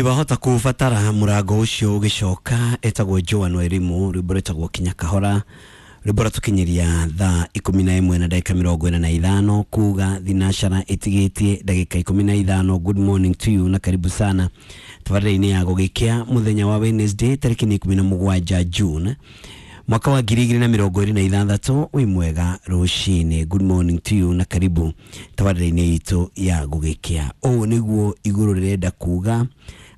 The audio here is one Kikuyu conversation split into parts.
Wahota kubatara murango ucio ugicoka etagwo Joan Wairimu rwimbo rwitagwo Kinya Kahora rwimbo rwatukinyiria thaa 11 na ndagika 45 kuga thinacara itigitie ndagika 15. Good morning to you na karibu sana tabarĩra-inĩ ya gũgĩkĩa mũthenya wa Wednesday tarĩki nĩ 17 June mwaka wa 2026. Wĩ mwega rũcinĩ, good morning to you na karibu tabarĩra-inĩ itũ ya gũgĩkĩa. Ũũ nĩguo igũrũ rĩrenda kuga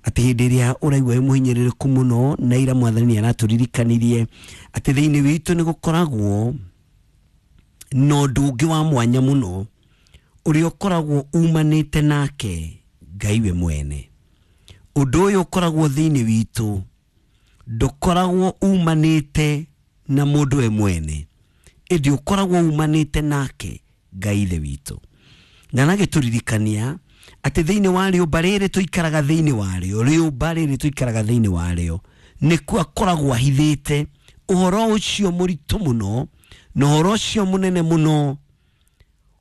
atĩ hĩndĩ ĩrĩa ũraigua wĩ mũhinyĩrĩrĩku mũno na ira mwathani nĩ aratũririkanirie atĩ thĩinĩ witũ nĩ gũkoragwo na ũndũ ũngĩ wa mwanya mũno ũrĩa ũkoragwo umanĩte nake Ngai we mwene. Ũndũ ũyũ ũkoragwo thĩinĩ witũ ndũkoragwo umanĩte na mũndũ we mwene, ĩndĩ ũkoragwo umanĩte nake Ngai ithe witũ. Na aragĩtũririkania atĩ thĩinĩ wa rĩũmba rĩrĩ tũikaraga thĩinĩ warĩo, rĩũmba rĩrĩ tũikaraga thĩinĩ warĩo nĩkuo akoragwo ahithĩte ũhoro ũcio mũritũ mũno na ũhoro ũcio mũnene mũno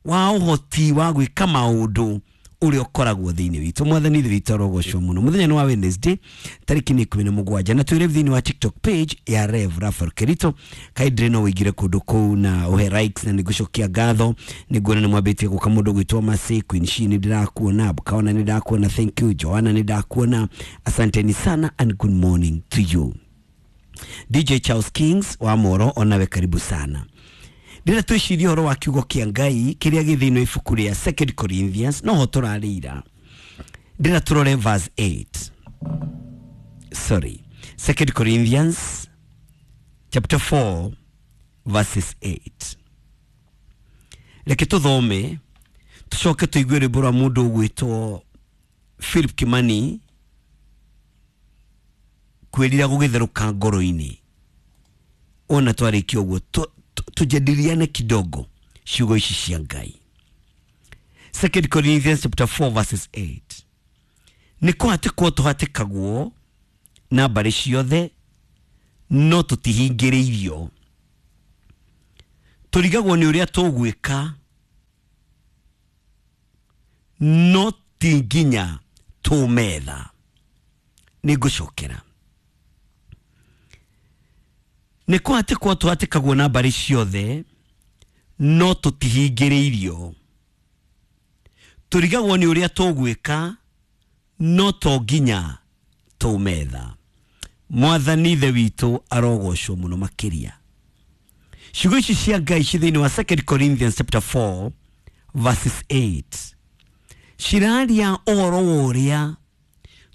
wa ũhoti wa gwĩka maũndũ ũrĩa ũkoragwo thĩinĩ witũ. Mwathani ithe witũ arogocwo mũno. Mũthenya nĩ wa Wednesday tarĩki nĩ 17 na twĩre thĩinĩ wa TikTok page ya Rev Raphael Kerito kaindire no ũingĩre kũndũ kũu na ũhe likes na nĩngũcokia ngatho. Nĩnguona nĩ mwambĩtie gũka mũndũ gwĩtwo Mercy Queen Shi, nĩ ndĩrakuona Bukaona, nĩ ndakuona, thank you Joanna, nĩ ndakuona, asanteni sana and good morning to you. DJ Charles Kings wa Moro onawe karibu sana. Ndĩrenda twĩcirie ũhoro wa kiugo kĩa Ngai kĩrĩa gĩ thĩinĩ wa ibuku rĩa Second Corinthians no ho tũrarĩira. Ndĩrenda tũrore verse 8, sorry, Second Corinthians chapter 4 verses 8. Reke tũthome tũcoke tũigue rwĩmbo rwa mũndũ ũgwĩtwo Philip Kimani kwĩrira gũgĩtherũka ngoro-inĩ. Ona twarĩkia ũguo tujadiliane kidogo ciugo ici cia Ngai. Second Corinthians chapter 4 verses 8. Nĩ kũhatĩkwo tũhatĩkagwo na mbarĩ ciothe no tũtihingĩrĩirio, tũrigagwo nĩ ũrĩa tũgwĩka no ti nginya tũmetha. Nĩ ngũcokera, nĩ kũhatĩkwo tũhatĩkagwo na mbarĩ ciothe no tũtihingĩrĩirio, tũrigagwo nĩ ũrĩa tũgwĩka no to nginya tũmetha. Mwathani ithe witũ arogocwo mũno makĩria. Ciugo ici cia Ngai ci thĩinĩ wa Second Corinthians chapter 4 verses 8 ciraria ũhoro wa ũrĩa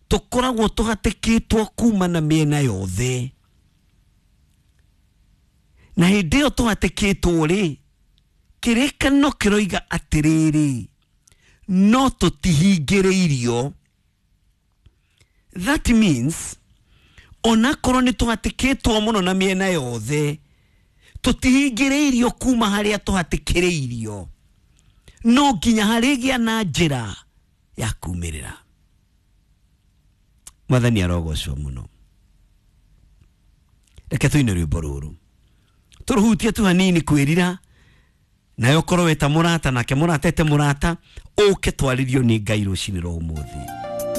tũkoragwo tũhatĩkĩtwo kuma na mĩena yothe, na hĩndĩ ĩyo tũhatĩkĩtwo rĩ, kĩrĩkanĩro kĩroiga atĩrĩrĩ, no tũtihingĩrĩirio. That means onakorwo nĩ tũhatĩkĩtwo mũno na mĩena yothe, tũtihingĩrĩirio kuma harĩa tũhatĩkĩrĩirio, no nginya harĩgĩa na njĩra ya kumĩrĩra. Mwathani arogocwo mũno. Reke tũine rwĩmbo rũrũ tũrũhutie tu hanini kwĩrira, nayo korwo weta mũrata nake mũrata ete mũrata ũke twarĩrio nĩ Ngai rũcinĩ rwa ũmũthĩ.